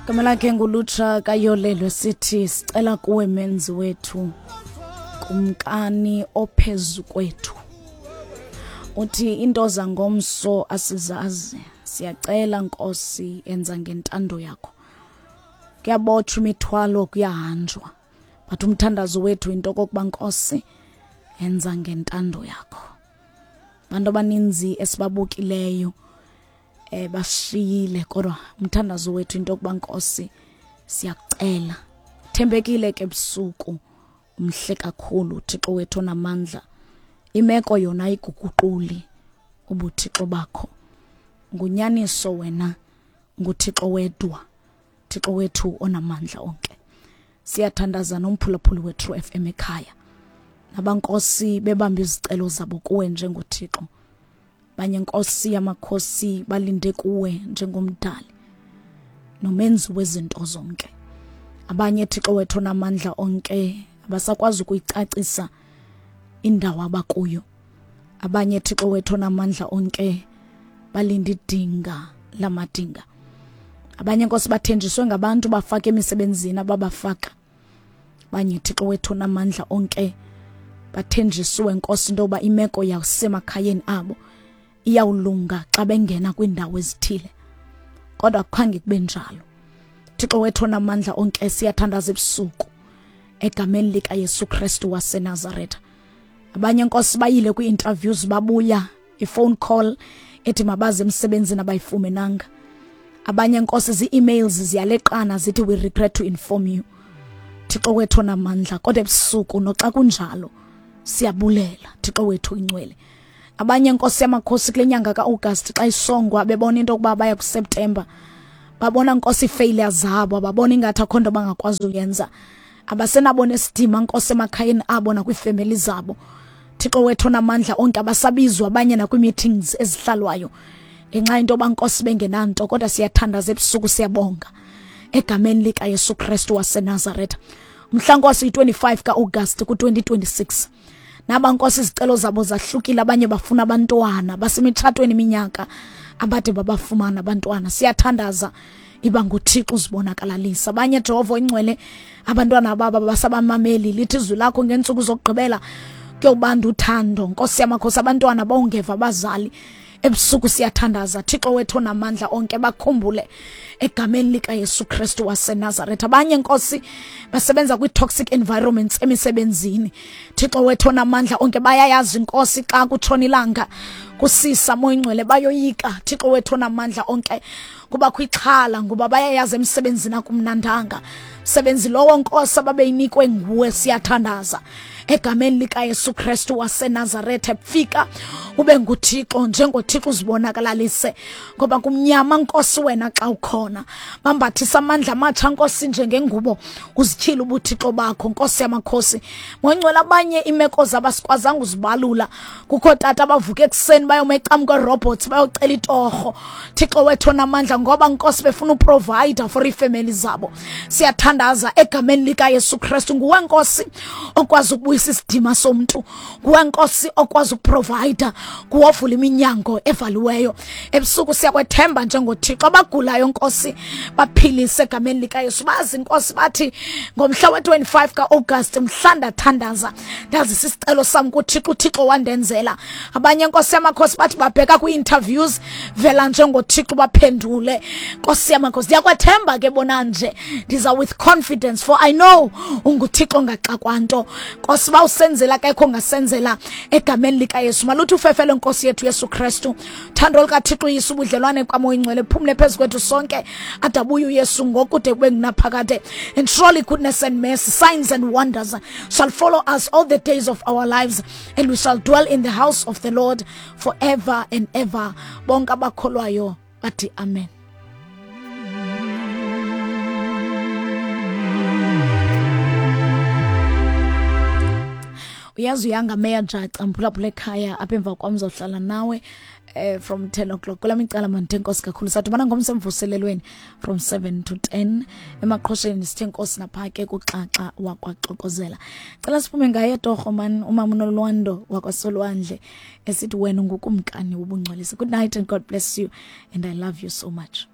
Igama lakhe ngulutsha kayolelwe sithi sicela kuwe menzi wethu kumkani ophezu kwethu. Uthi into zangomso asizazi siyacela Nkosi enza ngentando yakho. Kuyabotshwa imithwalo kuyahanjwa. But umthandazo wethu into kokuba Nkosi enza ngentando yakho. Abantu abaninzi esibabukileyo eh bashiyile kodwa umthandazo wethu into yokuba Nkosi siyakucela thembekile ke busuku umhle kakhulu Thixo wethu onamandla imeko yona ayiguguquli ubuthixo bakho ngunyaniso wena nguThixo wedwa Thixo wethu onamandla onke siyathandaza nomphulaphuli wethu FM ekhaya nabankosi bebamba izicelo zabo kuwe njengoThixo banye nkosi yamakhosi balinde kuwe njengomdali nomenzi wezinto zonke abanye Thixo wethu namandla onke abasakwazi ukuyicacisa indawo abakuyo abanye Thixo wethu namandla onke balinda idinga lamadinga abanye nkosi bathenjiswe ngabantu bafaka emisebenzini ababafaka banye Thixo wethu namandla onke bathenjisiwe Nkosi into yoba imeko yasemakhayeni abo iyawulunga xa bengena kwiindawo ezithile kodwa kukhange kube njalo Thixo wethu onamandla onke siyathandaza ebusuku egameni likaYesu Kristu waseNazaretha abanye nkosi bayile kwi-interviews babuya i-phone call ethi mabaze emsebenzini abayifumenanga abanye nkosi zii-emails ziyaleqana zithi we regret to inform you thixo wethu onamandla kodwa ebusuku noxa kunjalo siyabulela thixo wethu ingcwele abanye nkosi yamakhosi kule nyanga ka-august xa isongwa bebona into yokuba baya kuseptemba babona nkosi iifailure zabo ababona ingathi akho nto bangakwazi uyenza abasenabo nesidima nkosi emakhayeni abo nakwiifemeli zabo Thixo wethu onamandla onke abasabizwa abanye nakwi-meetings ezihlalwayo ngenxa yento yoba nkosi bengenanto kodwa siyathandaza ebusuku siyabonga egameni likaYesu Kristu waseNazaretha mhla nkosi yi-25 ka-August ku-2026 naba nkosi izicelo zabo zahlukile abanye bafuna abantwana basemitshatweni iminyaka abade babafumana abantwana siyathandaza iba nguThixo uzibonakalalisa abanye Jehova oyingcwele abantwana baba basabamameli lithi izwi lakho ngeentsuku zokugqibela kuyobanda uthando nkosi yamakhosi abantwana bawungeva abazali ebusuku siyathandaza thixo wethu onamandla onke bakhumbule egameni likaYesu Kristu waseNazaretha abanye nkosi basebenza kwi-toxic environments emisebenzini thixo wethu onamandla onke bayayazi inkosi xa kutshona ilanga kusisa moyingcwele bayoyika thixo wethu onamandla onke kubakho ixhala ngoba bayayazi emsebenzini akumnandanga msebenzi lowo nkosi ababeyinikwe nguwe siyathandaza egameni likaYesu Kristu waseNazaretha fika ube nguThixo njengoThixo uzibonakalalise ngoba kumnyama nkosi wena xa ukhona bambathisa amandla amatsha nkosi njengengubo uzityhile ubuthixo bakho nkosi yamakhosi ngongcwele abanye imeko zabo asikwazanga uzibalula kukho tata abavuka ekuseni bayoma ecam kwerobots bayocela itorho thixo wethu onamandla ngoba nkosi befuna uprovider for iifemeli zabo siyathandaza egameni likayesu kristu nguwe nkosi okwazi ukubuyisa isidima somntu nguwe nkosi okwazi ukuprovider nguwovula iminyango evaliweyo ebusuku siyakwethemba njengothixo abagulayo nkosi baphilise egameni likayesu bazi nkosi bathi ngomhla we-25 ka-august mhla ndathandaza ndazisa isicelo sam kuthixo uthixo wandenzela abanye nkosi yamakhosi bathi babheka kwii-interviews vela njengothixo baphendule nkosi yamakhosi ndiyakwethemba ke bona nje ndiza with confidence for i know unguthixo ongaxakwa nto nkosi uba usenzela kekho ongasenzela egameni likayesu maluthi ufefele nkosi yethu yesu kristu thando likathixo uyise ubudlelwane kwamoya ingcwele phumle phezu kwethu sonke adabuye uyesu ngokude kube ngunaphakade and surely goodness and mercy signs and wonders shall follow us all the days of our lives and we shall dwell in the house of the lord forever and ever bonke abakholwayo bathi amen uyazi uyanga meya jaca mphulaphula ekhaya apha emva kwam zohlala nawe eh, from 10 o'clock kula micala mandithe nkosi kakhulu sadibana ngomso emvuselelweni from 7 to 10 emaqhosheni sithe nkosi napha ke kuxaxa wakwaxokozela cela siphume ngaye torho man umama unolwando wakwasolwandle esithi wena ungukumkani wobungcwalisa good night and god bless you and i love you so much.